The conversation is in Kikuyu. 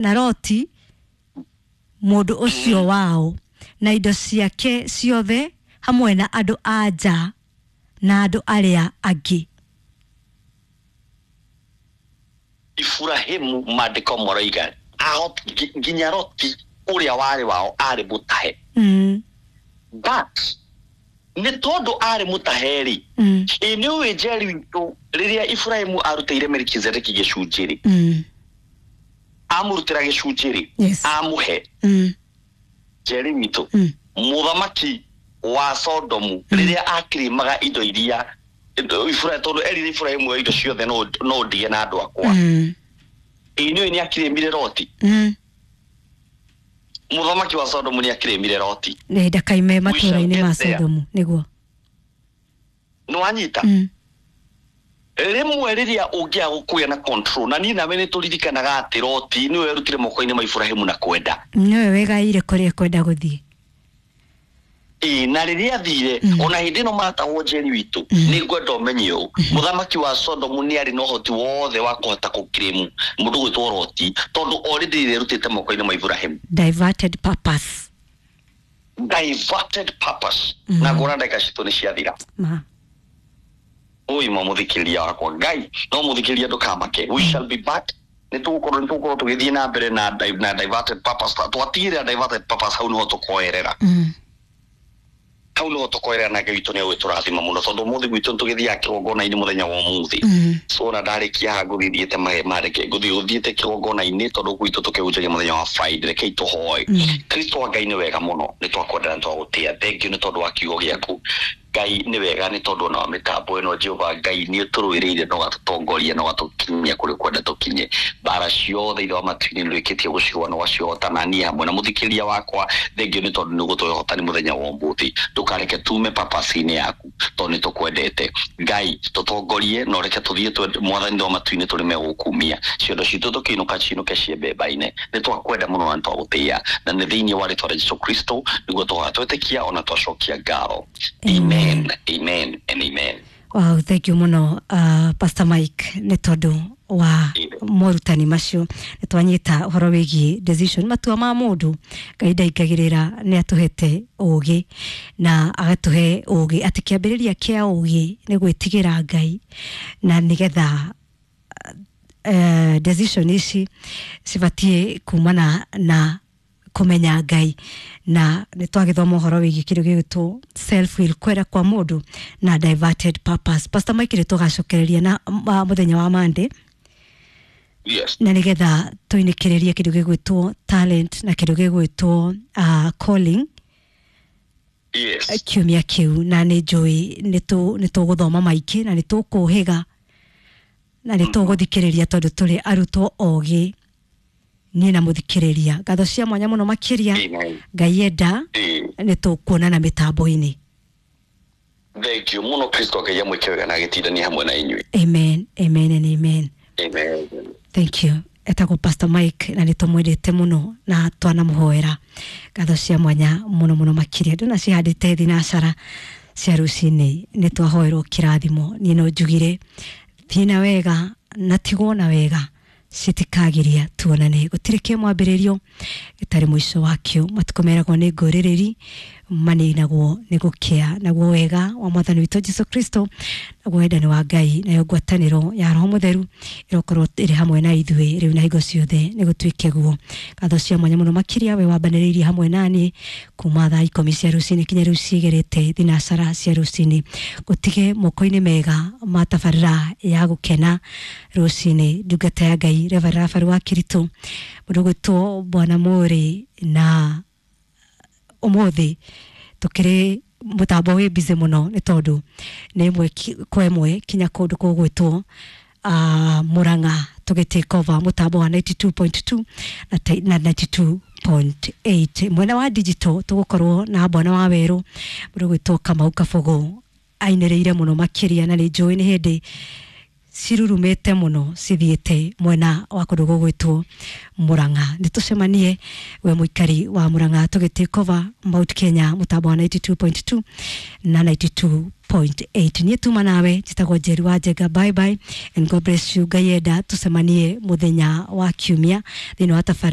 Na Loti mũndũ ũcio wao na indo ciake ciothe hamwe na andũ a nja na andũ arĩa angĩ. Iburahimu maandĩko maroiga nginya Loti ũrĩa warĩ wao arĩ mũtahe. But nĩ tondũ arĩ mũtahe rĩ, ĩ nĩ ũĩ Njeri witũ rĩrĩa Iburahimu arutĩire Melikizedeki gĩcunjĩ rĩ, amũrutĩra gĩcunjĩ rĩ, amũhe Njeri witũ, mũthamaki wa Sodomu rĩrĩa akirimaga indo iria Iburahimu, tondũ erire Iburahimu indo ciothe no ndige na andũ akwa. Ĩ nĩ ũĩ nĩ akirĩmire Loti? Mũthamaki wa Sodomu nĩ akirĩmire Loti. Nĩ ndakaime We shall matũra-inĩ get ma there. Sodomu nĩguo. Nĩ wanyita? Rĩmwe rĩrĩa ũngĩaga gũkũgĩa na control, na niĩ nawe nĩ tũririkanaga atĩ Loti nĩwe werutire moko-inĩ ma Iburahimu na kwenda. Nĩwe wegaire kũrĩa kwenda gũthiĩ. Ĩ na rĩrĩa athire, ona hĩndĩ ĩno matahwo, Njeri witũ, nĩ ngwenda ũmenye ũũ, mũthamaki wa Sodomu nĩ arĩ na ũhoti wothe wa kũhota gũkirĩmu mũndũ gwĩtwo Loti, tondũ already rĩerutĩte moko-inĩ ma Iburahimu. Diverted purpose. Diverted purpose. Na ngona ndagĩka citũ nĩ ciathira. Ma. Ũyũ mũthikĩrĩria wakwa, Ngai no mũthikĩrĩria, ndũkamake, we shall be back. Nĩ tũgũkorwo tũgĩthiĩ na mbere na diverted purpose. Twatigĩrĩra diverted purpose hau nĩho tũkoerera. Hau nĩho tũkoerera, na Ngai witũ nĩ egũgĩtũrathima mũno, tondũ ũmũthĩ gwitũ nĩtũgĩthiaga kĩgongona-inĩ mũthenya wa ũmũthĩ. So ona ndarĩkia haha ngũthiĩ thiĩte mareke ngũthiĩ gũthiĩte kĩgongona-inĩ, tondũ gwitũ tũkĩhunjagia mũthenya wa Friday. Rekei tũhoe. Kristo wa Ngai, nĩ wega mũno, nĩ twakwenda na twagũtĩa. Thank you nĩ tondũ wa kiugo gĩaku. Ngai, nĩ wega nĩ tondũ ona wa mĩtambo ĩno. Jehova Ngai, nĩ ũtũrũĩrĩire na ũgatũtongoria na ũgatũkinyia kũrĩa ũkwenda tũkinye. Mbara ciothe, Ithe wa matu-inĩ, nĩ ũrĩkĩtie gũcirũa na ũgacihota na niĩ hamwe na mũthikĩrĩria wakwa. Thank you nĩ tondũ nĩ ũgũtũhe ũhotani mũthenya wa ũmũthĩ. Ndũkareke tume purpose-inĩ yaku, tondũ nĩ tũkwendete. Ngai, tũtongorie na ũreke tũthiĩ Mwathani wa matu-inĩ, tũrĩme gũkumia ciondo citũ, tũkĩinũka cinũke ciembemba-inĩ. Nĩ twakwenda mũno na nĩ twagũtĩĩa, na nĩ thĩinĩ wa rĩtwa rĩa Jesu Kristo nĩguo tũhoya, twetĩkia ona twacokia ngatho. Amen, amen and amen. Wow, thank you mũno, Pastor Mike, nĩ tondũ wa morutani macio. Nĩ twanyita ũhoro wĩgiĩ decision, matua ma mũndũ. Ngai ndaingagĩrĩra, nĩ atũhete ũgĩ na agatũhe ũgĩ atĩ kĩambĩrĩria kĩa ũgĩ nĩ gwĩtigĩra Ngai, na nĩgetha decision ici cibatiĩ kumana na kũmenya Ngai. Na nĩ twagĩthoma ũhoro wĩgiĩ kĩndũ gĩgwĩtwo self will, kwenda kwa mũndũ, na diverted purpose. Pastor Mike, nĩ tũgacokereria na mũthenya wa Monday na nĩgetha tũinĩkĩrĩrie kĩndũ gĩgwĩtwo talent na kĩndũ gĩgwĩtwo calling kiumia kĩu. Na nĩ njũĩ nĩ tũgũthoma maingĩ na nĩ tũkũhĩga na nĩ tũgũthikĩrĩria, tondũ tũrĩ arutwo ogĩ, niĩ na mũthikĩrĩria. Ngatho cia mwanya mũno makĩria. Amen. Ngai enda, nĩ tũkuonana mĩtambo-inĩ. Thank you mũno. Kristo Ngai amwĩke wega na agĩtindania hamwe na inyuĩ. Amen, amen and amen. Amen. Thank you. Etagwo Pastor Mike na nĩ tũmwendete mũno na twanamũhoera. Ngatho cia mwanya mũno mũno makĩria. Ndona cihandĩte thinacara cia rũcinĩ, nĩ twahoerwo kĩrathimo. Niĩ no njugire thiĩ na wega na tigwo na wega, citikagiria tuonane. Gũtirĩ kĩ mwambĩrĩrio gĩtarĩ mũico wakĩo. Matukũ meragwo nĩ ngũrĩrĩri, maninagwo nĩ gũkĩa. Naguo wega wa Mwathani witũ Jesu Kristo, naguo wendani wa Ngai, nayo ngwatanĩro ya Roho Mũtheru ĩrokorwo ĩrĩ hamwe na ithuĩ rĩu na hingo ciothe. Nĩ gũtuĩke guo. Ngatho cia mwanya mũno makĩria we wambanĩrĩirie hamwe naniĩ kuma thaa 10 cia rũcinĩ kinya rĩu cigerete thinacara cia rũcinĩ. Gũtige moko-inĩ mega ma tabarĩra ya gũkena rũcinĩ, ndungata ya Ngai Reverend Rafael wa Kiritũ, mũndũ gwĩtwo Bwana Mũrĩ. Na ũmũthĩ tũkĩrĩ mũtambo wĩ busy mũno, nĩ tondũ nĩ ĩmwe kwa ĩmwe kinya kũndũ kũgwĩtwo Murang'a, tũgĩ take over mũtambo wa 92.2 na 92.8. Mwena wa digital tũgũkorwo na Bwana wa Werũ, mũndũ gwĩtwo Kamau Kabogo, ainĩrĩire mũno makĩria, na nĩ njũĩ nĩ hĩndĩ. Cirurumĩte mũno cithiĩte mwena wa kũndũ gũgwĩtwo Murang'a. Nĩ tũcemanie we mũikari wa Murang'a tũgĩ take over Mount Kenya mũtambo wa 92.2 na 92.8. Niĩ tuma nawe njĩtagwo Njeri wa Njenga. Bye bye and God bless you. Ngai enda tũcemanie mũthenya wa kiumia thĩinĩ wa tabarĩra.